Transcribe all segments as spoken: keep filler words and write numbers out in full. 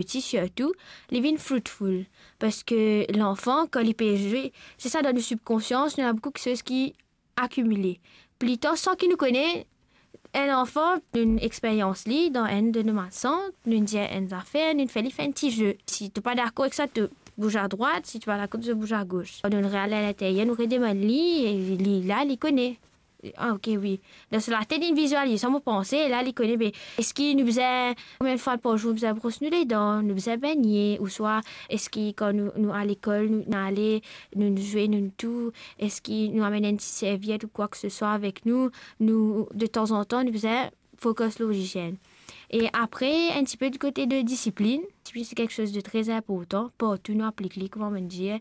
piti sirtou, li vinn fruitful. Parski lanfan, kan li pe zwe, se sa, dan nou sibkonsians, nou ena boukou kiksoz ki akimile. Pli tar, san ki nou kone, enn lanfan, nou'nn experyans li dan enn de nou masan, nou'nn dir enn zafer, nou'nn fer li fer enn ti ze. Si to pa dakor ek sa, to bouz adrwat, si to pa dakor, to bouz agos. Nou'nn re al alinteryer, nou redemann li, e li la, li kone. Ah, ok, wi. Dan so latet, li vizializ sa, mo panse, la, li kone, be, eski nou bizin, konbien fwa par zour nou bizin bros nou ledan, nou bizin begne, ouswa eski kan nou, nou al lekol, nou, nou ale, nou, nou zwe, nou tou, eski nou amenn enn ti serviet ou kwa ke se swa avek nou, nou, de tanzantan, nou bizin fokis lor lizienn. E apre, enn tipe di kote de disiplinn. Disiplinn, se kiksoz de tre inportan. Partou nou aplik li, kouma mo dir.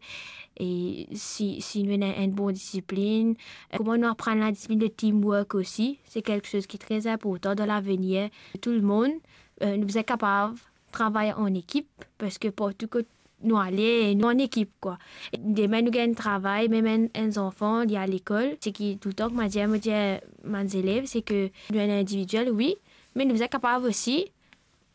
E si, si nou ena enn bon disiplinn, eh, kouma nou aprann ladisiplinn, le teamwork osi, se kiksoz ki tre inportan dan lavenir. Tou lemonn, eh, nou bizin kapav travay an ekip, parski partou kot nou ale, nou an ekip, kwa. Demin nou gagn travay, mem enn, enn zanfan, li al lekol, seki toultan ki mo dir, mo dir bann zelev, seki nou ena individiel, wi, me nou bizin kapav osi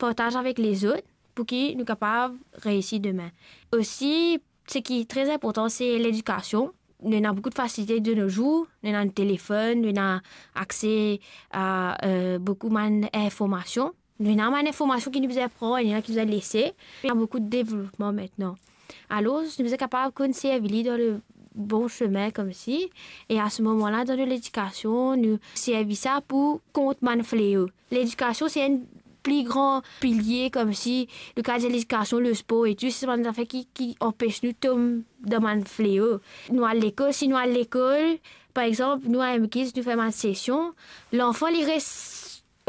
partaz avek lezot pou ki nou kapav reisi demin. Osi, seki tre inportan, se ledikasion. Nou ena boukou de fasilite de nos jours, nou ena nou telefonn, nou ena akse a, eh, boukou bann informasion. Nou ena bann informasion ki nou bizin pran, ena ki bizin lese. Ena boukou de devlopman aster. Alor, nou bizin kapav konn servi li dan le bon semin koumsi. E a se moman la, dan nou ledikasion, nou servi sa pou kont bann fleo. Ledikasion, se enn pli gran pilie koumsi, nou kapav dir ledikasion, lespor e tou, se bann zafer ki, ki anpes nou tom dan bann fleo. Nou al lekol, si nou al lekol, par exanp, nou a M Kids, nou fer bann sesion, lanfan, li res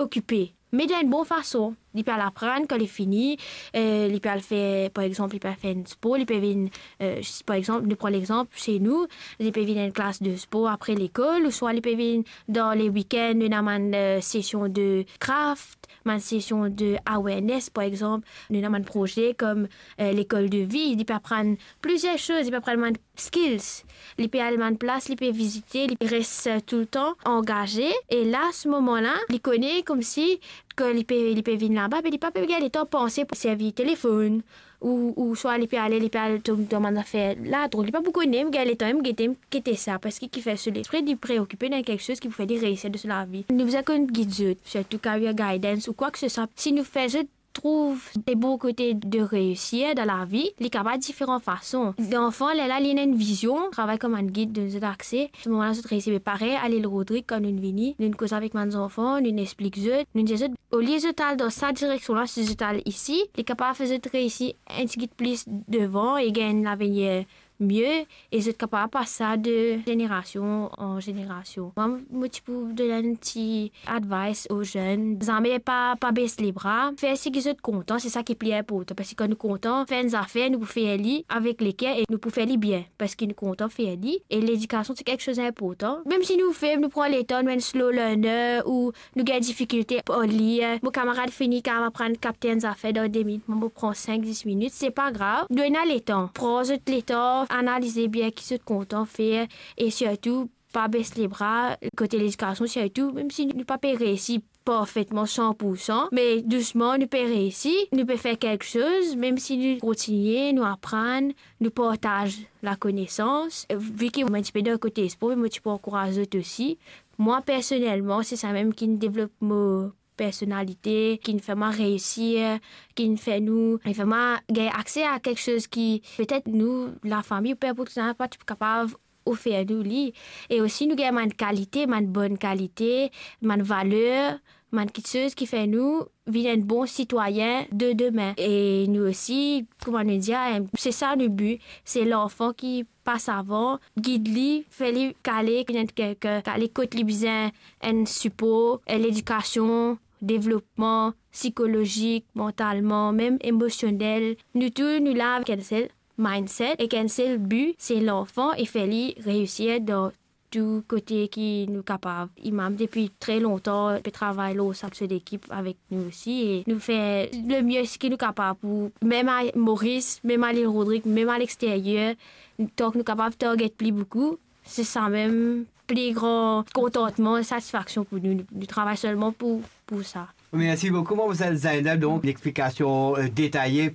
okipe, me dan enn bon fason. Li pe al aprann, kan li fini, eh, li pe al fer, par exanp, li pe al fer enn spor, li pe vinn, eh, par exanp, nou pran lexanp, se nou, li pe vinn enn klas de spor apre lekol, ouswa li pe vinn dan le weekend, nou ena bann, eh, sesion de craft, bann sesion de awareness, par exanp, nou ena bann proze kom, eh, lekol de vi, li pe aprann plizier soz, li pe aprann bann skills. Li pe al bann plas, li pe vizite, li pe res, eh, toultan angaze. E la, se moman la, li kone koumsi ke li pe, li pe vinn laba, me li pa pe gagn letan panse pou servi telefonn, ou, ouswa li pe ale, li pe al tom dan bann zafer ladrog. Li pa pou kone, me gagn letan, me gete, me gete sa, parski ki fer so lespri, li preokipe dan kiksoz ki pou fer li reisi dan so lavi. Nou bizin konn gid zot, sirtou career guidance ou kwa ke se swa. Si nou fer zot trouv de bon kote de reisir dan lavi, li kapav diferan fason. Lanfan, lerla li ena enn vizion, travay kom bann gid, donn zot akse. Se moman la zot reisi. Me parey, a Lil Rodrig, kan nou vini, nou koz avek bann zanfan, nou explik zot, nou dir zot, olie zot al dan sa direksion la, si zot al isi, li kapav fer zot reisi enn tigit plis devan e gagn enn lavenir mie, e zot kapav pas sa de zenerasion an zenerasion. Mwa, mo ti pou donn enn ti advice o zenn, zame pa, pa bes lebra, fer seki zot kontan, se sa ki pli inportan, parski kan nou kontan fer enn zafer, nou pou fer li avek leker e nou pou fer li bien, parski nou kontan fer li. E ledikasion, se kiksoz inportan. Mem si nou fer, nou pran letan, nou enn slow learner, ou nou gagn difikilte ar lir. Mo kamarad fini kav aprann kap enn zafer dan de minit, mwa mo pran sink, dis minit, se pa grav. Nou ena letan. Pran zot letan, analize bien ki zot kontan fer e sirtou pa bes lebra kote ledikasion, sirtou, mem si nou pa pe reisi parfetman san pou san, me dousman nou pe reisi, nou pe fer kiksoz, mem si nou kontigne, nou aprann, nou partaz lakonesans. Vi ki mo enn tipe dan kote spor, me mo ti pou ankouraz zot osi. Mwa, personelman, se samem ki'nn devlop mo personalite, ki'nn fer mwa reisir, ki'nn fer nou, ki'nn fer mwa gagn akse a kiksoz ki petet nou, lafami, ou pe pou sa, pa ti kapav ofer nou li. E osi nou gagn bann kalite, bann bon kalite, bann valer, bann kiksoz ki fer nou vinn enn bon sitwayin de demin. E nou osi, kouma nou dir, se sa nou bi, se lanfan ki pas avan, gid li, fer li kale, ki ena enn kiksoz, kale kot li bizin enn sipor, enn ledikasion, devlopman psikolozik, mantalman, mem emosionel. Nou tou, nou la avek enn sel mindset, ek enn sel bi, se lanfan e fer li reisir dan tou kote ki nou kapav. Imam, depi tre lontan, pe travay lor sa, so lekip avek nou osi, e nou fer lemie seki nou kapav pou, mem a Moris, mem a Lil Rodrig, mem a lexteryer, tan ki nou kapav target pli boukou, se samem pli gran kontantman, satisfaksion pou nou. Nou, nou travay selman pou, pou sa. Merci beaucoup, mademoiselle Zainab. Donc, une explication euh, détaillée